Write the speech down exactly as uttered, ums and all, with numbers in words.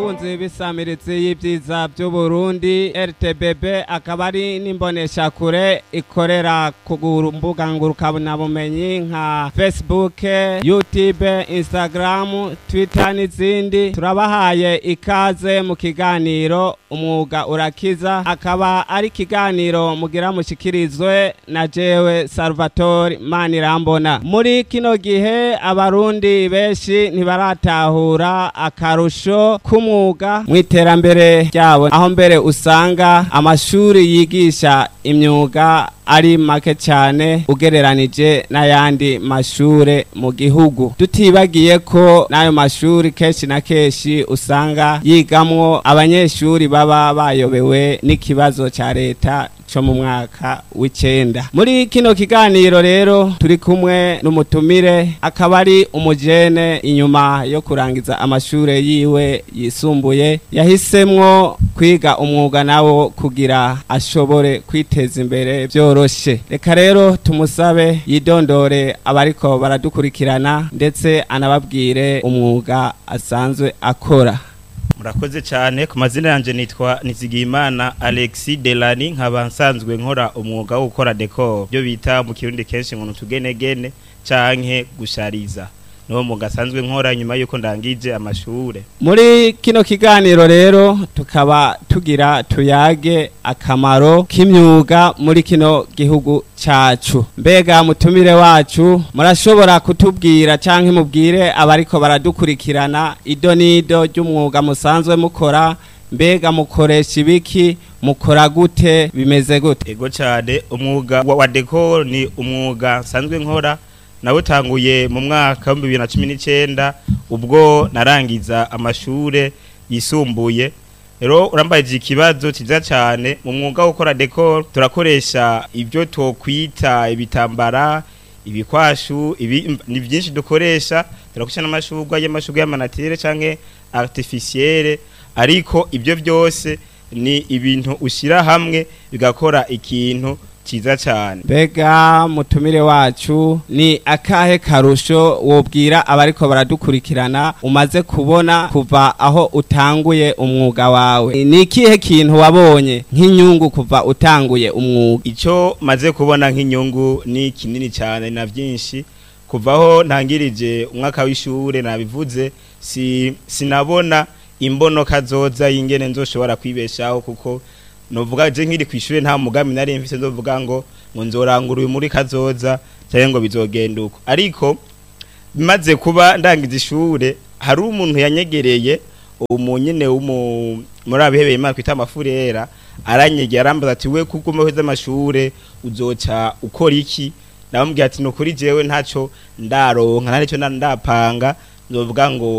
Bakunzi b'isamirizi y'ibyiza by'Uburundi R T B B, akaba ari n'imboneshakure ikorera ku mbuga ngurukanabumenyi nka Facebook, YouTube, Instagram, Twitter n'izindi. Turabahaye ikaze mu kiganiro Umwuga Urakiza, akaba ari ikiganiro mugira mushikirizwe na jewe Salvatore Manirambona. Muri kino gihe Abarundi benshi ntibaratahura akarusho k'umwuga mu iterambere ryabo, aho mbere usanga amashuri yigisha imyuga ari make cyane ugereranije n'ayandi mashure mu gihugu, tutibagiye ko n'ayo mashuri kenshi na kenshi usanga yigamwo abanyeshuri baba bayobewe n'ikibazo cya leta co mu mwaka w'icenda. Muri kino kiganiro rero turi kumwe n'umutumire, akaba ari umujene. Inyuma yo kurangiza amashure yiwe yisumbuye, yahisemwo kwiga umwuga nawo kugira ashobore kwiteza imbere byoroshe. Reka rero tumusabe yidondore abariko baradukurikirana, ndetse anababwire umwuga asanzwe akora. Murakoze cyane. Ku mazina yanjye nitwa Nizigiyimana Alexis Delani, nkaba nsanzwe nkora umwuga wo gukora décor, byo bita mu Kirundi kenshi ngo tugenegene canke gushariza. Niwo mwuga asanzwe nkora nyuma yuko ndangije amashure. Muri kino kiganiro rero tukaba tugira tuyage akamaro k'imyuga muri kino gihugu cacu. Mbega mutumire wacu, murashobora kutubwira canke mubwire abariko baradukurikirana ido nido ry'umwuga musanzwe mukora? Mbega mukoresha ibiki? Mukora gute? Bimeze gute? Ego cyane. Umwuga wa, wa décor ni umwuga nsanzwe nkora, nawutanguye mu mwaka wa bibiri na cumi n'icyenda ubwo narangiza amashure yisumbuye. Rero urambaye ikibazo cyiza cyane. Mu mwuga wo gukora décor turakoresha ibyo twokwita ibitambara, ibikwashu, ibi ni byinshi dukoresha. Turakoresha n'amashurwe y'amashurwe y'ama naturel canke artificiel, ariko ibyo byose ni ibintu ushyira hamwe bigakora ikintu cyiza cyane. Mbega mutumire wacu, ni akahe karusho wobwira abariko baradukurikirana umaze kubona kuva aho utanguye umwuga wawe? Ni ikihe kintu wabonye nk'inyungu kuva utanguye umwuga? Icyo maze kubona nk'inyungu ni kinini cyane na byinshi. Kuvaho ntangirije umwaka w'ishure, nabivuze, si sinabona imbono kazoza y'ingene nzoshobora kwibeshaho, kuko novuga je nkiri kwishure nta mugambi nari mfise nzovuga ngo ngo nzorangura uyu muri kazoza cyangwa ngo bizogenda uko. Ariko bimaze kuba ndangiza ishure, hari umuntu yanyegereye, umunyene w'umu muri abihebeye Imana kwita amafurera, aranyegera arambaza ati: "We kuko umuheze amashure uzoca ukora iki?" Namubwiye ati: "Nukuri jewe ntaco ndaronka, nta nico ndapanga nzovuga ngo